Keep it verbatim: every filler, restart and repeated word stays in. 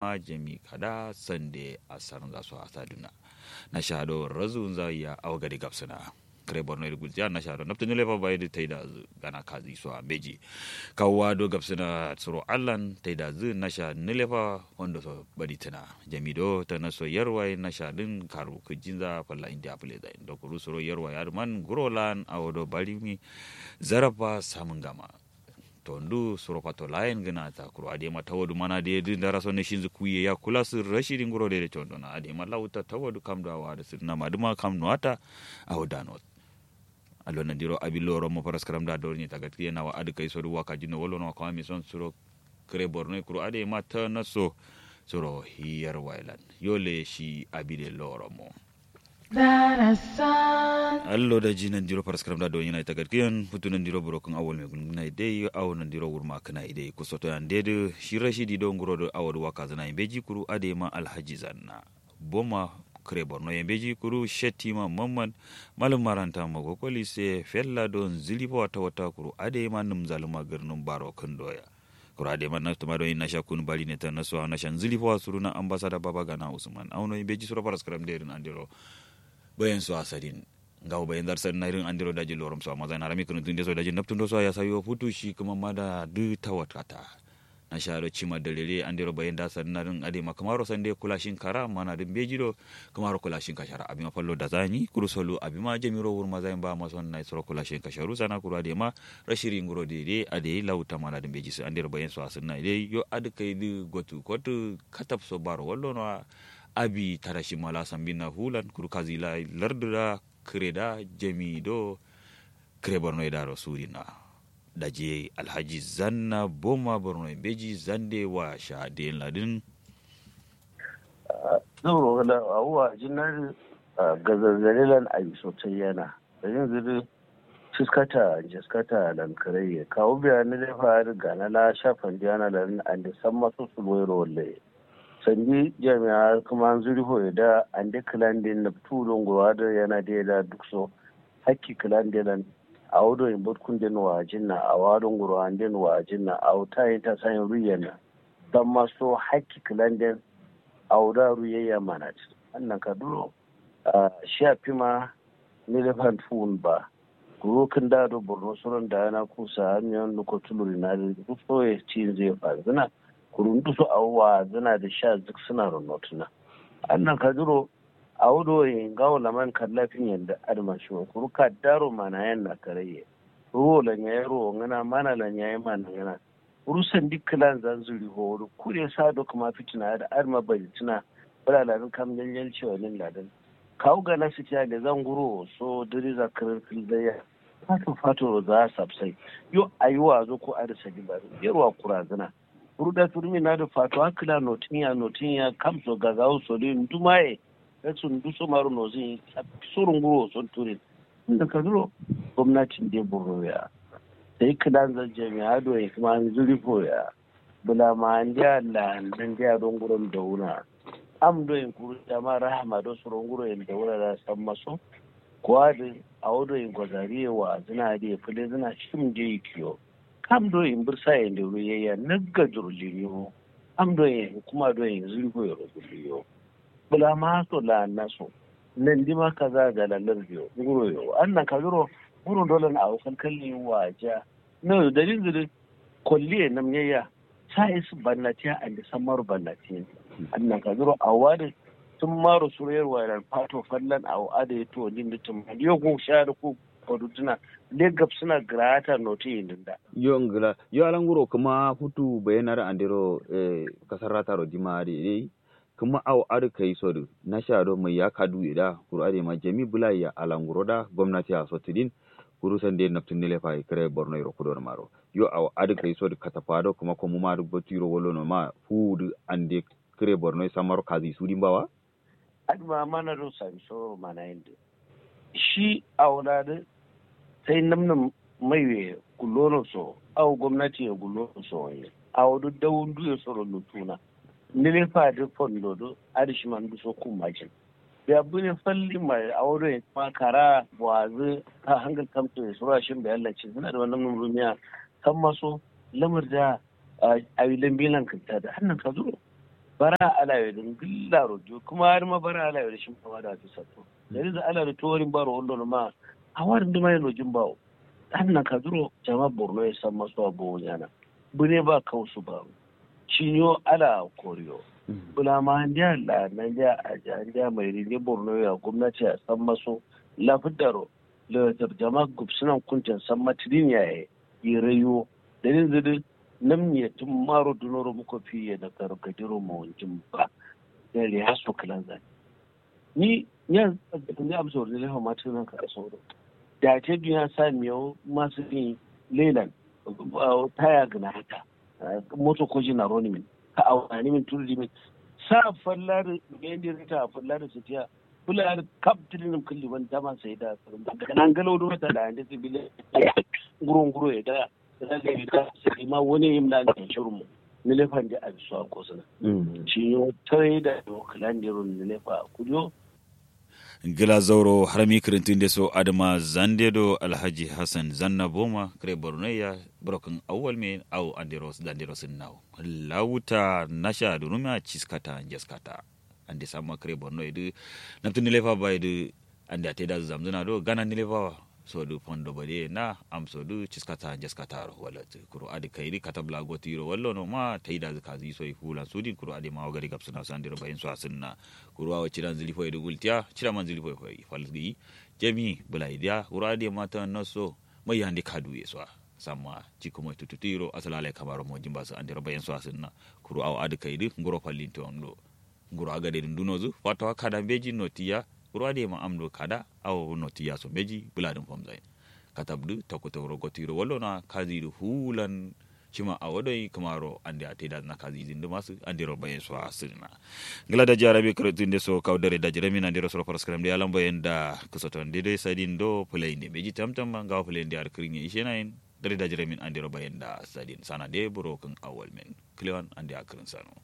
ma jami kada sande asarnza so asadǝna. Nasha do razu nza ya awo gade gabsǝna. Kǝre borno ye dǝ gultiya nasha do nabtǝ nǝlefa bayi dǝ taidazǝ gana kazi so ambeji. Kawuwa do gabsǝna suro allan taidazǝ nasha nǝlefa wando so baditǝna. Jami do tana so yarwa ye nasha dǝn karu kǝjinza falla indiya fǝleza yen do kuru suro yarwa ye adǝ man nguro lan awo do barimi. Zarafa samǝngama. Tondu suro fato layen gǝna ta kuru adai ma tawadu mana dai dǝ ndara so nashinzǝ kuye ya kulasǝ rashidi nguro dai dai tondona adai ma lauta tawadu kamdo awo adǝ sǝdǝna madǝma kam nuwata. Awo dano. Allo nandiro abi loro mo faras karam da doro nyita gatkiye nawa adǝ kai sodu waka jinno wolo nawa kawami son suro. Kǝre borno kuru adai ma ta naso. Suro hiyar wailan yole shi abi de loro mo. Allo daji nandiro faraskaram da donyina ita gadkiyen futu nandiro burokun awol me gulngina idai awo nandiro wurma kǝna idai kusoto yande dǝ shi rashidi do nguro dǝ awo dǝ wakazǝna ye mbeji kuru adai ma alhaji zanna. Boma kǝre borno ye mbeji kuru shettima mamman. Malum maranta mago kolise fella do nzǝli fo wata wata kuru adai ma nǝmzalǝma gǝrnǝm baro kǝndoya. Kura de man naftuma do yin nasha kun bali ne ta naso nasha nzili fo suruna ambasada baba gana usman auno yin beji suro faras karam de rin andiro. Bayan so asadin ngawo bayan zar sadin na rin andiro daji lorom so amma zan harami kun tun de so daji naftun do so ya sayo futu shi kuma mada du tawatkata. Nasha do cima dalele andiro bayan da sadin na rin ade ma kamaro sande kula shin kara mana dun beji do. Kamaro kula shin kashara abima fallo da zani kuru solu abima jamiro wurma zain ba mason na suro kula shin kasharu sana kuru ade ma. Rashiri nguro dede adai lau tamana dǝ mbeji sǝ andero bayen so asǝnna dai yo adǝ kai dǝ gotu kotu katap so baro wallono wa. Abi tarashi mala sambinna fulan kuru kazi la lardǝ da kǝre da jami do. Kǝre borno ye daro surina. Daji alhaji zanna boma borno ye mbeji zande wa sha deyen ladǝn. Zauro kǝla awo wa jinna dǝ. Gazazare lan ayi so tayyana. Dalilin zǝ dǝ. Ciskata njaskata lan kǝraiye kawu biya nǝlefa adǝ gana la sha fandiyana lan ande samma so sulwairo wallaye. Sandi jami'a kǝma nzuri foye da ande kǝlande nabtu do nguro adǝ yana dai da dukso. Hakki kǝlande lan. Awo do yin botkunden wajinna awo ado nguro anden wajinna awo tayin tasayin ruiyenna. Samma so hakki kǝlanden. Awo da ruiyayya manat. Annan kaduro. Shi afima. Nǝlefan fuwun ba. Kuru kǝnda do borno suron dayana kusa amiyon luko tulurin adǝ nduso ye cinzǝ ye fanzǝna. Kuru nduso awo wazǝna dǝ sha zǝksǝnaro notǝna. Annan kaduro. Awo do ye ngawo laman kallafin yen dǝ adǝma shiwo kuru kaddaro manayen nakaraiye. Ruwo lan yayi ruwo ngǝna mana lan yayi mana ngǝna. Kuru sandi kǝlanza nzuri fowo dǝ kure sa do kǝma fitina adǝ adǝma baditǝna. Bǝla ladǝn kam nyalyal cewanin ladǝn. Kawu gana sitiya leza ngurowo so dǝriza kǝrǝr kǝlzaiya. Fato fatoro za sapsai. Yo ayi wazo ko adǝ sadi ba dǝ yerwa kurazǝna. Kuru da turmi na dǝ fato akǝla notinya notinya kamso gazawu so dǝ ndumaye. Rasu nduso maro nozǝn yi sappi soro ngurowo so dǝ turin. Nda kaduro gomnatin de borno ya. Sai kǝlanza jami'a do ye kǝma nzuri fo ya. Bǝla ma andeya la nandeya do nguron dawuna. Am do yin kuru dama rahama do suro nguron dawuna da samma so. Kuwa dǝ awo do yin gozari ye wazǝna adǝ ye fǝlezǝna shim de yikiyo. Kam do yin bǝrsa yen de wuro yayya nagga duro limiyo. Am do yin hukuma do yin zuri fo yero gulliyo. Bǝla ma so la anna so. Nandima kaza gala lardiyo nguroyo annan kaduro. Nguron dolan awo kalkalli waja. Noyo dalil dǝ dǝ. Kolliye namnyayya. Sa isǝ bannatiya ande sammaro bannatiyin. Annan kaduro awo adǝ. Tǝmmaro suro yerwa lan fato fallan awo adǝ ye tuwandin dǝ tǝmma yo gun sha dǝ ku. Kodutǝna. Le gabsǝna gǝrata notu yindin da. Yo ngla yo ala nguro kǝma futu bayanaro andero. Kasarrataro dima adǝ ye dai. Kǝma awo adǝ kai sodǝ nasha do maiya kaduye da kuru adǝ ye ma jami bǝlaye ya ala nguro da gomnati ya so tǝdin. Kuru sande nabtǝ nǝlefa ye kǝre borno yero kudo nǝmaro. Yo awo adǝ kai sodǝ katafa do kǝma komu ma adǝ batu yiro wallono ma fuwu dǝ ande. Kǝre borno ye samaro kazi sudin bawa. Adǝ ma mana do sami soro manayin dǝ. Shi awo la dǝ. Sai nǝm nǝm maiwe gullono so awo gomnati ye gullono so wanye. Awo dǝ dawun duye soro lutuna. Nǝlefa dǝ fondo dǝ adǝ shiman duso kummajin. Biya bune falli ma awo do ye kǝma kara buwazǝ. Hangal kamto ye soro ashin biya lacin sǝna dǝ ma nǝm nǝm rumiya. Samma so lamar da. Awi lambilan kǝnta dǝ hannan kaduro. Bara alawe dǝ ngǝllaro diyo kǝma adǝ ma bara alawe dǝ shima wada fisatto. Dare dǝ ala dǝ torin baro wallono ma. Awa dǝ ndǝma ye nojin bawo. Adǝ nan kaduro jama borno ye samma so a bowo nyana. Bǝne ba kausu baro. Cinyo ala koriyo. Bǝla ma andiya la nandiya aja andiya mairi nde borno ye a gomnati a samma so. Lafǝddaro. Lewatar jama gubsunan kunten samma tidin yaye. Yirayo. Dalin zǝdǝ. Namnye tǝmmaro dunoro muko fiye naftaro gadiro mawonjin ba. Dare haso kǝlanzan. Ni nya ni amsa wuri lefa ma tun ka so do. Da te dunya sa miyo masu ni lelan. Taya gana haka. Moto ko jina roni min ka awani min turu di min. Sa fallari bendi rita fallari sitiya. Fallari kap tilinim kulli ban dama sai da. Nan galau do ta da ande sibile. Nguro nguro ya da. Sai ma wani yim na ne shurmu. Ni lefan di abi so ko suna. Shi yo tare da yo kalan diro ni lefa kujo. Gla zauro harami kǝrǝntǝnde so adǝma zande do alhaji hassan zanna boma kǝre borno ya. Buro kǝn awwal me awo andero zandero sǝnnawo. Lawuta nasha dǝ rumia ciskata njeskata. Ande samma kǝre borno ye dǝ. Naptǝ nilefa ba ye dǝ. Ande a taidazǝ zamzǝna do gana nilefa wa. So dǝ fondo bade na am so dǝ ciskata njeskataro wallatǝ kuru adǝ kaidǝ katab la gotǝ yiro wallono ma taidazǝ kazǝ yi so yi fulan sudin kuru adǝ ma wagari gabsǝna so andero bayin so asǝnna. Kuru awo cidan zǝli foye dǝ gultiya cidan man zǝli foye foye fal gǝyi. Jami bǝlai diya kuru adǝ ma ta naso. Mai yande kaduye so a samma cikku mai tututuyiro asǝlalai kamaro mojin baso andero bayin so asǝnna. Kuru awo adǝ kaidǝ nguro fallinto ando. Nguro agade dǝ ndunozǝ fatawa kada mbeji notiya. Kuru adǝ ye ma amdo kada awo notiya so mbeji bǝladǝn fomzain. Katab dǝ takku tauro gotiro wallo na kazi dǝ fulan. Shima awo doi kǝmaro ande a taidazǝna kazi dǝn dǝ masǝ andero bayin so asǝnna. Ngla daji arabe kǝrǝtǝ nde so kawu dare daji ramin andero soro faraskaram dǝ yalan bayin da. Kǝsoton dǝ doi sadin do fǝlayin dǝ mbeji tamtam ma ngawo fǝlayin dǝ adǝ kǝrin ye ishenayin. Dare daji ramin andero bayin da sadin sana dǝ buro kǝn awal men. Kǝlewan ande a kǝrin sano.